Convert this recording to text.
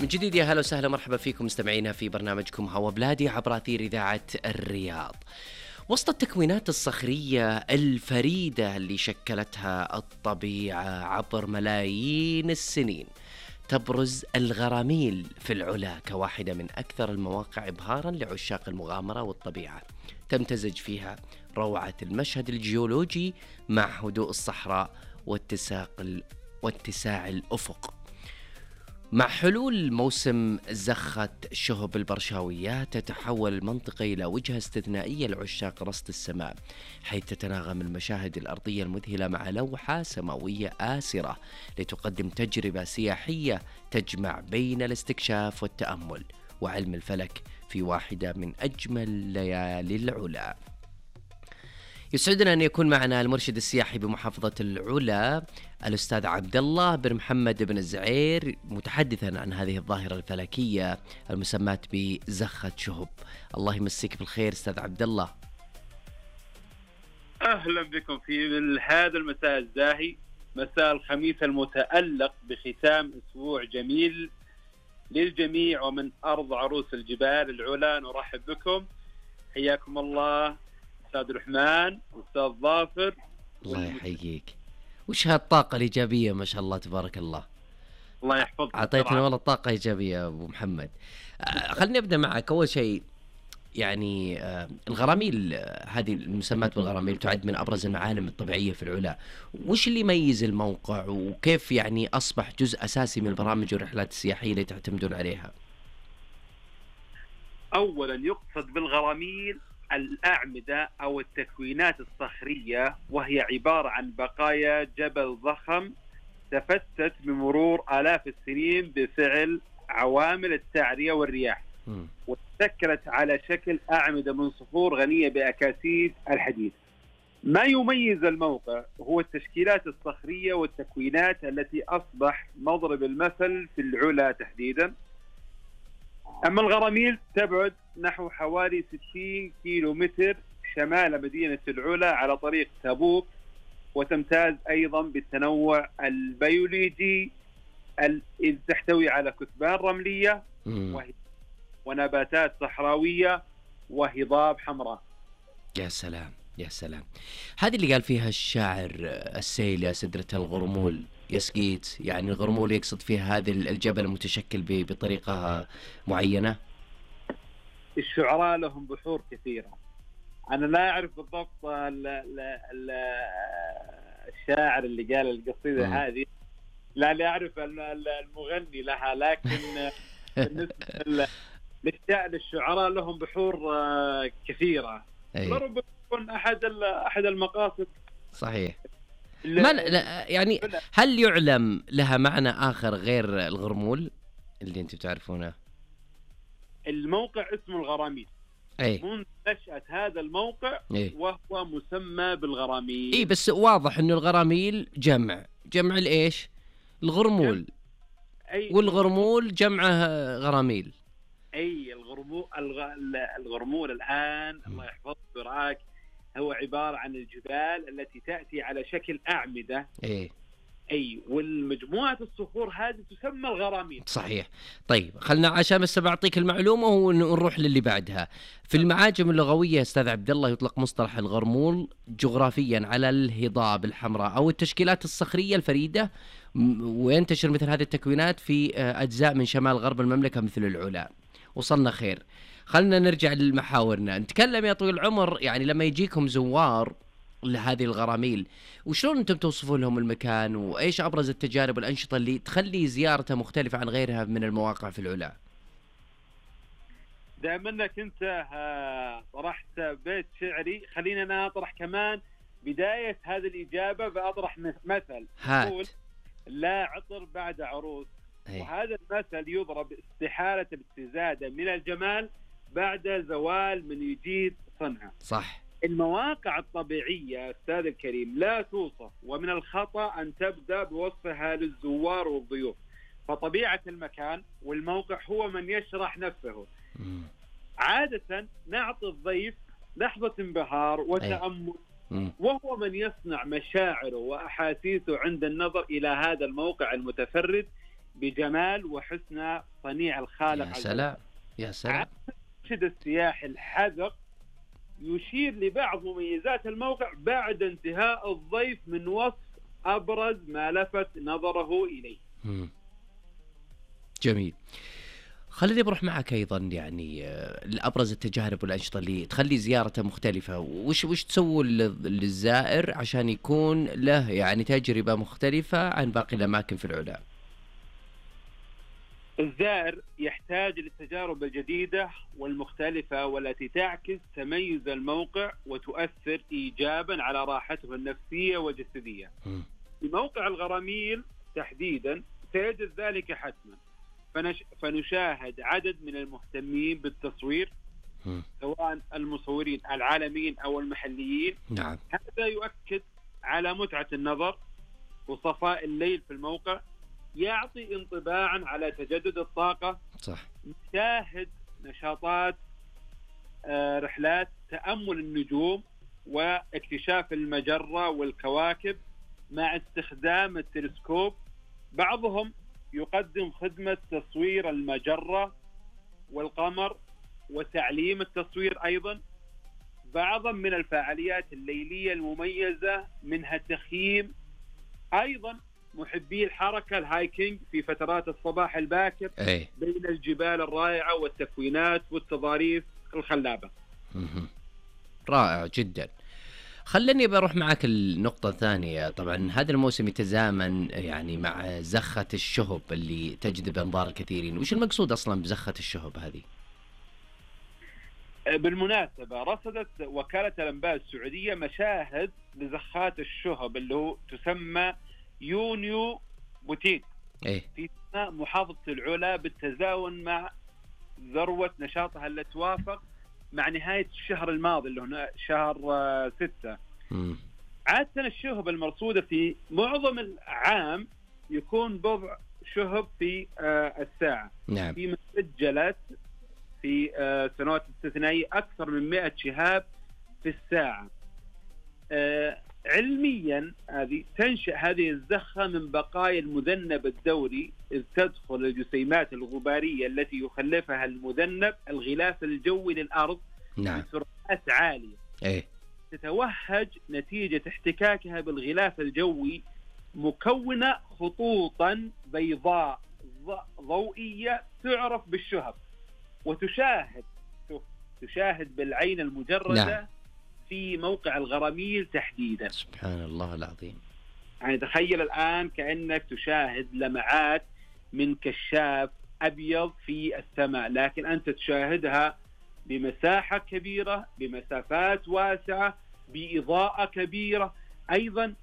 من جديد يا هلا وسهلا، مرحبا فيكم مستمعينا في برنامجكم هوا بلادي عبر أثير إذاعة الرياض. وسط التكوينات الصخرية الفريدة اللي شكلتها الطبيعة عبر ملايين السنين، تبرز الغراميل في العلا كواحدة من أكثر المواقع إبهاراً لعشاق المغامرة والطبيعة. تمتزج فيها روعة المشهد الجيولوجي مع هدوء الصحراء واتساع الأفق. مع حلول موسم زخة شهب البرشاويات تتحول المنطقة إلى وجهة استثنائية لعشاق رصد السماء، حيث تتناغم المشاهد الأرضية المذهلة مع لوحة سماوية آسرة لتقدم تجربة سياحية تجمع بين الاستكشاف والتأمل وعلم الفلك في واحدة من أجمل ليالي العلا. يسعدنا أن يكون معنا المرشد السياحي بمحافظة العلا الأستاذ عبد الله بن محمد بن الزعير، متحدثا عن هذه الظاهرة الفلكية المسماة بزخة شهب. الله يمسيك بالخير أستاذ عبد الله. أهلا بكم في هذا المساء الزاهي، مساء الخميس المتألق بختام أسبوع جميل للجميع، ومن أرض عروس الجبال العلا نرحب بكم. حياكم الله أستاذ الرحمن وأستاذ ظافر. الله يحييك. وش هالطاقة الإيجابية ما شاء الله تبارك الله. الله يحفظك. أعطيتنا والله طاقة إيجابية يا أبو محمد. خلني أبدأ معك. أول شيء يعني الغراميل، هذه المسمات بالغراميل تعد من أبرز المعالم الطبيعية في العلا. وش اللي يميز الموقع وكيف يعني أصبح جزء أساسي من البرامج والرحلات السياحية اللي تعتمدون عليها؟ أولا يقصد بالغراميل الأعمدة أو التكوينات الصخرية، وهي عبارة عن بقايا جبل ضخم تفتت بمرور آلاف السنين بفعل عوامل التعرية والرياح، وتشكلت على شكل أعمدة من صخور غنية بأكاسيد الحديد. ما يميز الموقع هو التشكيلات الصخرية والتكوينات التي أصبح مضرب المثل في العلا تحديدا. أما الغراميل تبعد نحو حوالي 60 كيلو متر شمال مدينة العلا على طريق تبوك، وتمتاز أيضا بالتنوع البيولوجي إذ تحتوي على كثبان رملية ونباتات صحراوية وهضاب حمراء. يا سلام يا سلام. هذه اللي قال فيها الشاعر السيل يا سدرة الغرمول يسقيت، يعني الغرمول يقصد فيها هذا الجبل المتشكل بطريقة معينة. الشعراء لهم بحور كثيرة، أنا لا أعرف بالضبط الشاعر اللي قال القصيدة هذه، لا أعرف المغني لها، لكن بالنسبة للشعراء لهم بحور كثيرة. ربما يكون أحد المقاصد. صحيح. يعني هل يعلم لها معنى آخر غير الغرمول اللي أنتم تعرفونه؟ الموقع اسمه الغراميل. منذ نشأة هذا الموقع وهو مسمى بالغراميل. بس واضح إنه الغراميل جمع الإيش؟ الغرمول. والغرمول جمعه غراميل. الغرمول الآن الله يحفظك ويرعاك هو عبارة عن الجبال التي تأتي على شكل أعمدة. والمجموعة الصخور هذه تسمى الغراميل. صحيح. طيب خلنا عشان بس بعطيك المعلومة ونروح للي بعدها. في المعاجم اللغوية أستاذ عبد الله يطلق مصطلح الغرمول جغرافيا على الهضاب الحمراء أو التشكيلات الصخرية الفريدة، وينتشر مثل هذه التكوينات في أجزاء من شمال غرب المملكة مثل العلا. وصلنا خير. خلنا نرجع لمحاورنا. نتكلم يا طويل العمر، يعني لما يجيكم زوار لهذه الغراميل وشلون أنتم توصفون لهم المكان، وإيش أبرز التجارب والأنشطة اللي تخلي زيارته مختلفة عن غيرها من المواقع في العلا؟ دائما أنك أنت طرحت بيت شعري، خلينا أنا أطرح كمان بداية هذه الإجابة بأطرح مثل. هات. لا عطر بعد عروس. وهذا المثل يضرب استحالة الاستزادة من الجمال بعد زوال من يجيد صنعه. صح. المواقع الطبيعية أستاذ الكريم لا توصف، ومن الخطأ أن تبدأ بوصفها للزوار والضيوف، فطبيعة المكان والموقع هو من يشرح نفسه. عادة نعطي الضيف لحظة انبهار وتأمل، وهو من يصنع مشاعره وأحاسيسه عند النظر إلى هذا الموقع المتفرد بجمال وحسن صنيع الخالق. يا سلام يا سلام. المرشد السياحي الحذق يشير لبعض مميزات الموقع بعد انتهاء الضيف من وصف أبرز ما لفت نظره إليه. جميل. خليني بروح معك أيضا يعني الأبرز التجارب والأنشطة اللي تخلي زيارته مختلفة، وش تسووا للزائر عشان يكون له يعني تجربة مختلفة عن باقي الأماكن في العلا؟ الزائر يحتاج للتجارب الجديدة والمختلفة والتي تعكس تميز الموقع وتؤثر إيجابا على راحته النفسية والجسدية. في موقع الغراميل تحديدا سيجد ذلك حتما، فنشاهد عدد من المهتمين بالتصوير سواء المصورين العالميين أو المحليين. نعم. هذا يؤكد على متعة النظر وصفاء الليل في الموقع، يعطي انطباعا على تجدد الطاقة. صح. نشاهد نشاطات رحلات تأمل النجوم واكتشاف المجرة والكواكب مع استخدام التلسكوب. بعضهم يقدم خدمة تصوير المجرة والقمر وتعليم التصوير أيضا. بعضا من الفعاليات الليلية المميزة منها التخييم، أيضا محبي الحركة الهايكينج في فترات الصباح الباكر بين الجبال الرائعة والتكوينات والتضاريس الخلابة. رائع جدا. خلني بروح معك النقطة الثانية. طبعا هذا الموسم يتزامن يعني مع زخة الشهب اللي تجذب أنظار الكثيرين. وش المقصود أصلا بزخة الشهب هذه؟ بالمناسبة رصدت وكالة الأنباء السعودية مشاهد لزخات الشهب اللي هو تسمى يونيو بوتيك في محافظة العلا بالتزاون مع ذروة نشاطها اللي توافق مع نهاية الشهر الماضي اللي هنا شهر 6. عادة الشهب المرصودة في معظم العام يكون بضع شهب في الساعة. نعم. في مسجلات في سنوات استثنائية أكثر من 100 شهاب في الساعة. علميا تنشأ هذه الزخة من بقايا المذنب الدوري، إذ تدخل الجسيمات الغبارية التي يخلفها المذنب الغلاف الجوي للأرض. نعم. بسرعات عالية. تتوهج نتيجة احتكاكها بالغلاف الجوي مكونة خطوطا بيضاء ضوئية تعرف بالشهب، وتشاهد بالعين المجردة. نعم. في موقع الغراميل تحديدا. سبحان الله العظيم. يعني تخيل الآن كأنك تشاهد لمعات من كشاف أبيض في السماء، لكن أنت تشاهدها بمساحة كبيرة، بمسافات واسعة، بإضاءة كبيرة. أيضا